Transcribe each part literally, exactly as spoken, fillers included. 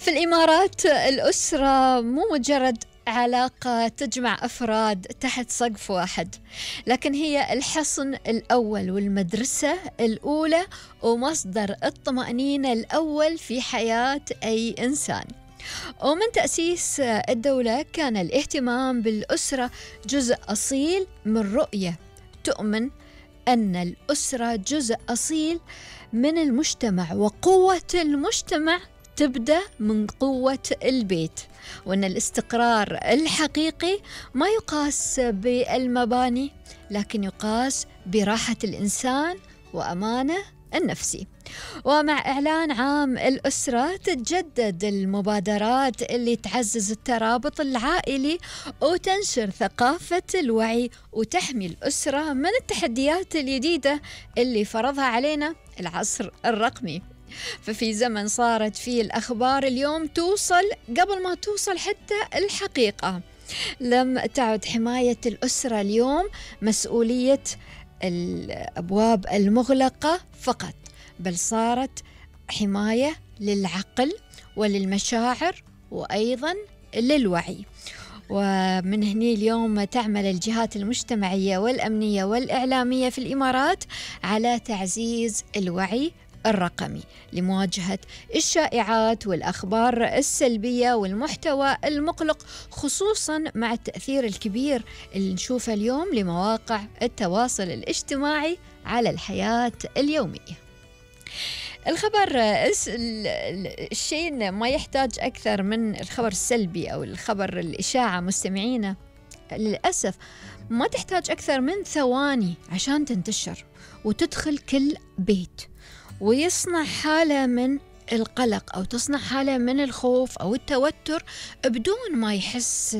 في الإمارات الأسرة مو مجرد علاقة تجمع أفراد تحت سقف واحد، لكن هي الحصن الأول والمدرسة الأولى ومصدر الطمأنينة الأول في حياة أي إنسان. ومن تأسيس الدولة كان الاهتمام بالأسرة جزء أصيل من رؤية تؤمن أن الأسرة جزء أصيل من المجتمع، وقوة المجتمع تبدأ من قوة البيت، وأن الاستقرار الحقيقي ما يقاس بالمباني لكن يقاس براحة الإنسان وأمانه النفسي. ومع إعلان عام الأسرة تتجدد المبادرات اللي تعزز الترابط العائلي وتنشر ثقافة الوعي وتحمي الأسرة من التحديات الجديدة اللي فرضها علينا العصر الرقمي. ففي زمن صارت فيه الأخبار اليوم توصل قبل ما توصل حتى الحقيقة، لم تعد حماية الأسرة اليوم مسؤولية الأبواب المغلقة فقط، بل صارت حماية للعقل وللمشاعر وأيضا للوعي. ومن هني اليوم تعمل الجهات المجتمعية والأمنية والإعلامية في الإمارات على تعزيز الوعي الرقمي لمواجهة الشائعات والأخبار السلبية والمحتوى المقلق، خصوصا مع التأثير الكبير اللي نشوفه اليوم لمواقع التواصل الاجتماعي على الحياة اليومية. الخبر الشيء ما يحتاج أكثر من الخبر السلبي أو الخبر الإشاعة مستمعينا، للأسف ما تحتاج أكثر من ثواني عشان تنتشر وتدخل كل بيت ويصنع حالة من القلق أو تصنع حالة من الخوف أو التوتر بدون ما يحس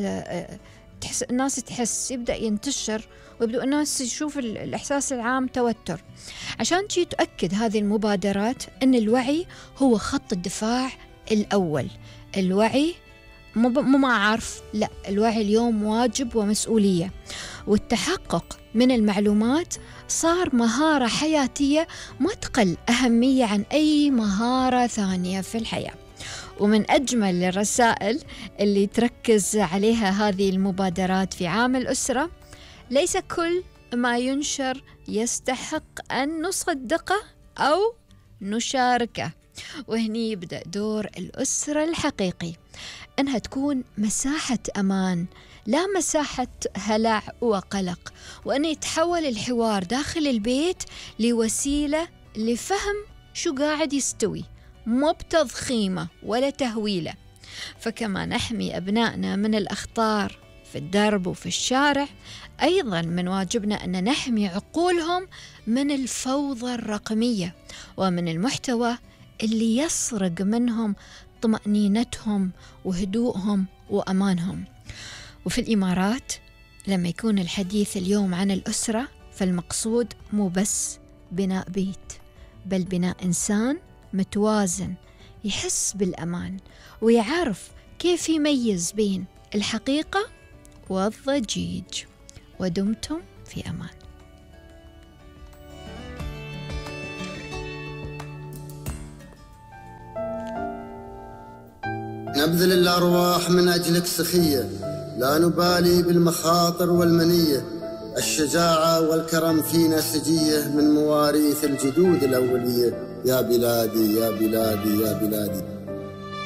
تحس الناس تحس، يبدأ ينتشر ويبدأ الناس يشوف الإحساس العام توتر. عشان تجي تؤكد هذه المبادرات أن الوعي هو خط الدفاع الأول. الوعي مو ما عارف، لا، الوعي اليوم واجب ومسؤولية، والتحقق من المعلومات صار مهارة حياتية ما تقل أهمية عن أي مهارة ثانية في الحياة. ومن أجمل الرسائل اللي تركز عليها هذه المبادرات في عام الأسرة: ليس كل ما ينشر يستحق أن نصدقه أو نشاركه. وهني يبدأ دور الأسرة الحقيقي، أنها تكون مساحة أمان لا مساحة هلع وقلق، وأن يتحول الحوار داخل البيت لوسيلة لفهم شو قاعد يستوي، مو بتضخيمه ولا تهويله. فكما نحمي أبنائنا من الأخطار في الدرب وفي الشارع، أيضا من واجبنا أن نحمي عقولهم من الفوضى الرقمية ومن المحتوى اللي يسرق منهم طمأنينتهم وهدوءهم وأمانهم. وفي الإمارات لما يكون الحديث اليوم عن الأسرة، فالمقصود مو بس بناء بيت، بل بناء إنسان متوازن يحس بالأمان ويعرف كيف يميز بين الحقيقة والضجيج. ودمتم في أمان. نبذل الأرواح من أجلك سخية، لا نبالي بالمخاطر والمنية، الشجاعة والكرم فينا سجية من مواريث الجدود الأولية. يا بلادي يا بلادي يا بلادي.